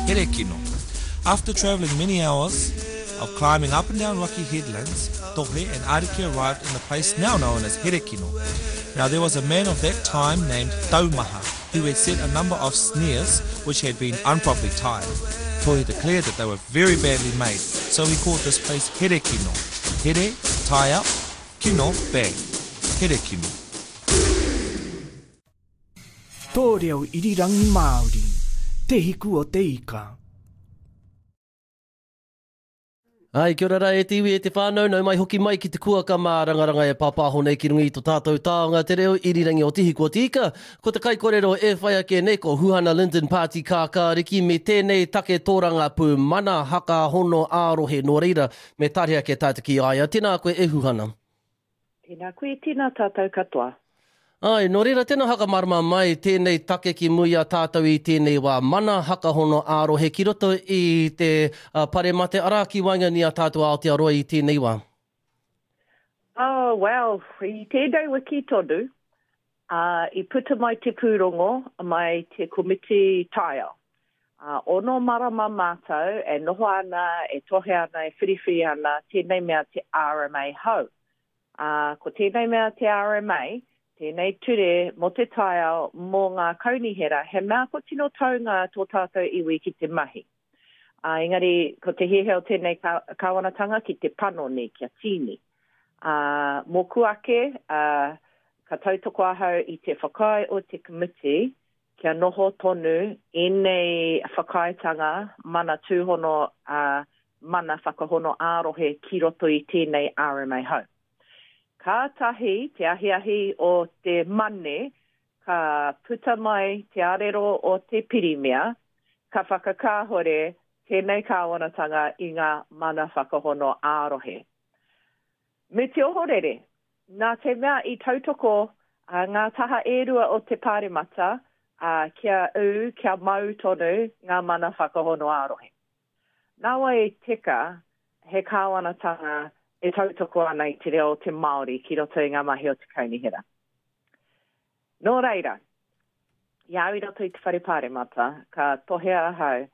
Herekino. After travelling many hours of climbing up and down rocky headlands, Tohe and Ariki arrived in the place now known as Herekino. Now there was a man of that time named Taumaha, who had set a number of snares which had been improperly tied. Tohe declared that they were very badly made, so he called this place Herekino. Here, tie up, kino, bad. Herekino. Tō reo irirangi Māori, Te Hiku o te Ika. Ai, kia ora rā e te iwi, e te whānau, nau mai hoki mai ki te kuaka mārangaranga e pāpāho nei ki runga i to tātou taonga te reo irirangi o Te Hiku o te Ika. Ko te kaikorero e whai ake nei ko Huhana Lyndon Pāti Kākāriki me tēnei take tōrangapū mana haka hono ā-rohe nō reira me tare ake tātou ki a ia. Tēnā koe e Huhana. Tēnā koe, tēnā tātou katoa. Āe, nō reira, tēnā whakamārama mai tēnei take ki mua i a tātou i tēnei wā, mana hakahono ā-rohe ki roto i te paremate, arā, ki waenganui i a tātou Aotearoa i tēnei wā. Oh, well, i tēnei wiki tonu, ā, i puta mai te pūrongo mai te Komiti Taiao. Ā, ono marama mātou e noho ana, e tohe ana, e whiriwhiri ana tēnei mea te RMA hou. Ā, ko tēnei mea te RMA, tēnei ture mō te taiao mō ngā kaunihera, he mea kua tino taunga tō tātou iwi ki te mahi. Ā, engari ko te hiahia o tēnei kāwanatanga ki te panoni, kia tīni. Ā, mōku ake, ā, ka tautoko ahau i te whakaae o te komiti kia noho tonu ēnei whakaaetanga mana tūhono, ā, mana whakahono ā-rohe ki roto i tēnei RMA hou. Kātahi te ahiahi o te Mane ka puta mai te arero o te Pirimia ka whakakāhore tēnei kāwanatanga i ngā mana whakahono ā-rohe. Me te ohorere, Nā te mea i tautoko ngā taha e rua o te Pāremata kia ū, kia mau tonu ngā mana whakahono ā-rohe. Nāwai i teka he kāwanatanga e tautoko ana i te reo o te Māori ki roto i ngā mahi o te Kaunihera. Nō reira, i a au i roto i te Whare Pāremata, ka tohea ahau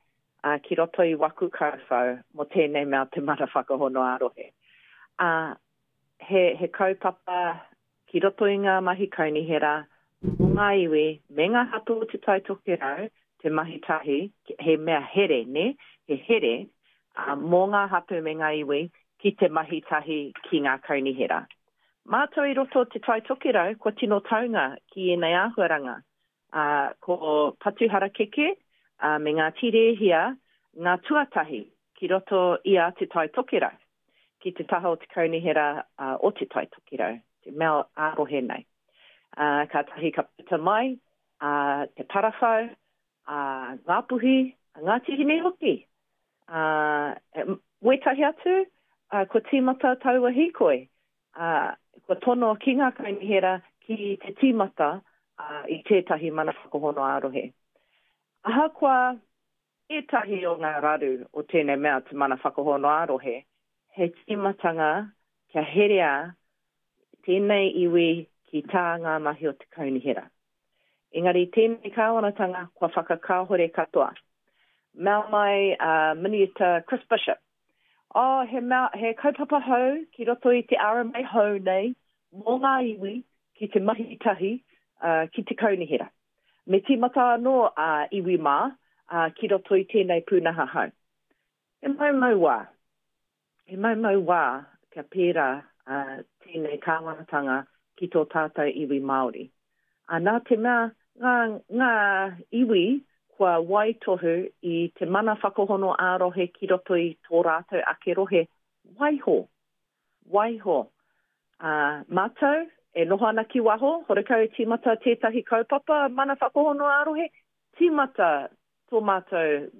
ki roto i waku kauwhau mō tēnei mea te mana whakahono ā-rohe. Ā, he, he kaupapa ki roto i ngā mahi kaunihera mō ngā iwi me ngā hapū o Te Tai Tokerau te mahi tahi, he mea here, nē, he here mō ngā hapū me ngā iwi ki te mahi tahi ki ngā kaunihera. Mātou i roto o Te Tai Tokerau kua tino taunga ki ēnei āhuaranga, ā, ko Patuharakeke me Ngāti Rēhia ngā tuatahi ki roto i a Te Tai Tokerau. ki te taha o te kaunihera o Te Tai Tokerau, te mea ā-rohe nei. Kātahi ka puta mai a Te Parawhau, a Ngāpuhi, a Ngāti Hine hoki. Wētahi atu, kua tīmata taua hīkoi. Kua tono ki ngā kaunihera ki te tīmata i tētahi mana whakahono ā-rohe. Ahakoa Ētahi o ngā raru o tēnei mea te mana whakahono ā-rohe, he tīmatanga kia herea tēnei iwi ki tā ngā mahi o te kaunihera. Engari tēnei kāwanatanga kua whakakāhore katoa. Mea mai a Minita Chris Bishop, Oh, he mea, he kaupapa hou ki roto i te RMA hou nei mō ngā iwi ki te mahi tahi ki te kaunihera. Me tīmata anō a iwi mā ki roto i tēnei pūnaha hou. He maumau wā. He maumau wā kia pērā tēnei kāwanatanga ki tō tātou iwi Māori. Nā te mea ngā, ngā iwi kua waitohu i te mana whakahono ā-rohe ki roto i tō rātou ake rohe, waiho Waiho, ā, mātou e noho ana ki waho, horekau e tīmata tētahi kaupapa mana whakahono ā-rohe, tīmata tō mātou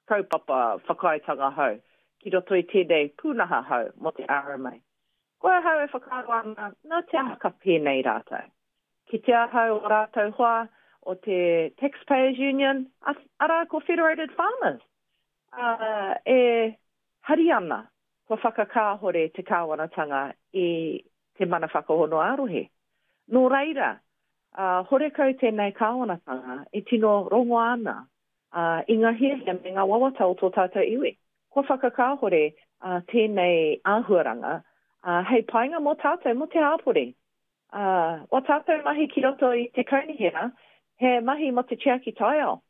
kaupapa whakaaetanga hou ki roto i tēnei pūnaha hou mō te RMA. Ko ahau e whakaaro ana, nā te aha ka pēnei rātou? Ki te ahau o rātou hoa o te Taxpayers Union, arā ko Federated Farmers, ā, e hari ana kua whakakāhore te kāwanatanga i te mana whakahono ā-rohe. Nō reira, horekau tēnei kāwanatanga e tino rongoa ana. ā, i ngā hiahia me ngā wawata o tō tātou iwi. Kua whakakāhore tēnei āhuaranga, ā, hei painga mō tātou, mō te hāpori. Ā, wā tātou mahi ki roto i te kaunihera, he mahi mō te tiaki taiao,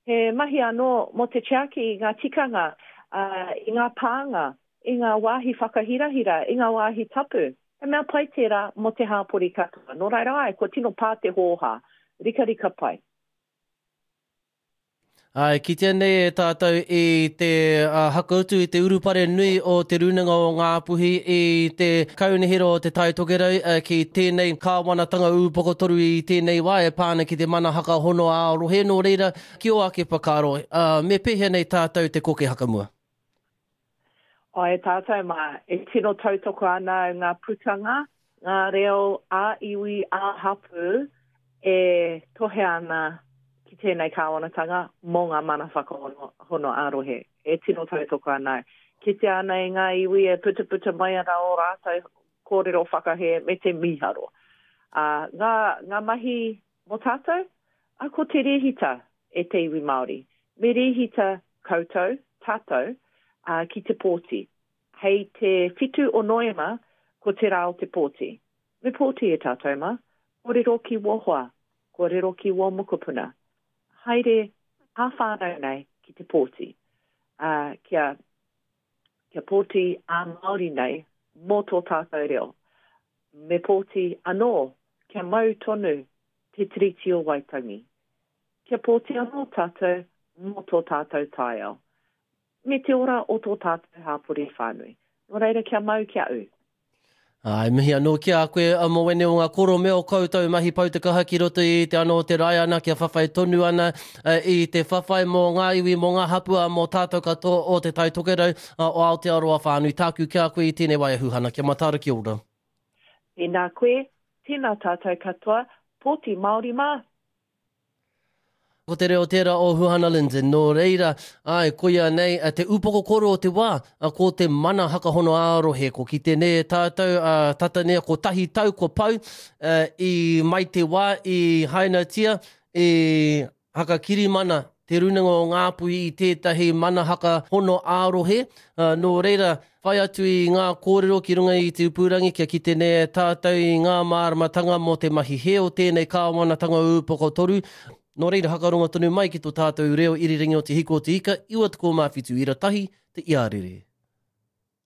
he mahi anō mō te tiaki i ngā tikanga, ā, i ngā pānga, i ngā wāhi whakahirahira, i ngā wāhi tapu. He mea pai tērā mō te hāpori katoa. Nō reira, āe, kua tino pā te hōhā. Rikarika pai. Ā, e kitea nei e tātou i te hakautu i te urupare nui o Te Rūnanga o Ngāpuhi i te Kaunihera o Te Tai Tokerau ki tēnei kāwanatanga ūpoko toru i tēnei wā e pā ana ki te mana hakahono ā-rohe. Nō reira, ki ō ake whakaaro, me pēhea nei tātou te koke hakamua? Āe tātou mā, e tino tautoko ana au ngā putanga, ngā reo ā-iwi, ā-hapū e tohe ana ki tēnei kāwanatanga mō ngā mana whakahono ā-rohe. E tino tautoko ana au. Kitea ana i ngā iwi e putaputa mai ana ō rātou kōrero whakahē me te mīharo. Ā, ngā, ngā mahi mō tātou, ā, ko te rēhita e te iwi Māori. Me rēhita koutou, tātou, ā, ki te pōti. Hei te whitu o Noema, ko te rā o te pōti. Me pōti e tātou mā. Kōrero ki wō hoa, kōrero ki wō mokopuna. Haere ā-whānau nei ki te pōti. Ā, kia, kia pōti ā-Māori nei mō tō tātou reo. Me pōti anō kia mau tonu te Tiriti o Waitangi. Kia pōti anō tātou mō tō tātou taiao, me te ora o tō tātou hāpori whānui. Nō reira kia mau kia ū. Āe, mihi anō ki a koe a Mowene o ngā koro me o koutou mahi pau te kaha ki roto i te ana o te Raiana kia whawhai tonu ana i te whawhai mō ngā iwi, mō ngā hapū, ā, mō tātou katoa o Te Tai Tokerau, o Aotearoa whānui. Tāku ki a koe i tēnei wā e Huhana, kia mataara kia ora. Tēnā koe, tēnā tātou katoa, pōti Māori mā! Ko te reo tērā o Huhana Lyndon, nō reira, āe, koia nei te upoko koro o te wā, ko te mana hakahono ā-rohe, ko kite nei e tātou, tata nei kotahi tau kua pau i mai te wā i hainatia, i hakakirimana Te Rūnanga o Ngāpuhi i tētahi mana hakahono ā-rohe, nō reira, Whai atu i ngā kōrero ki runga i te upurangi kia kite nei e tātou i ngā māramatanga mō te mahi hē o tēnei kāwanatanga ūpoko toru. Nō reira hakarongo tonu mai ki tō tātou reo irirangi o Te Hiku o Te Ika, 97 ira tahi, te iarere.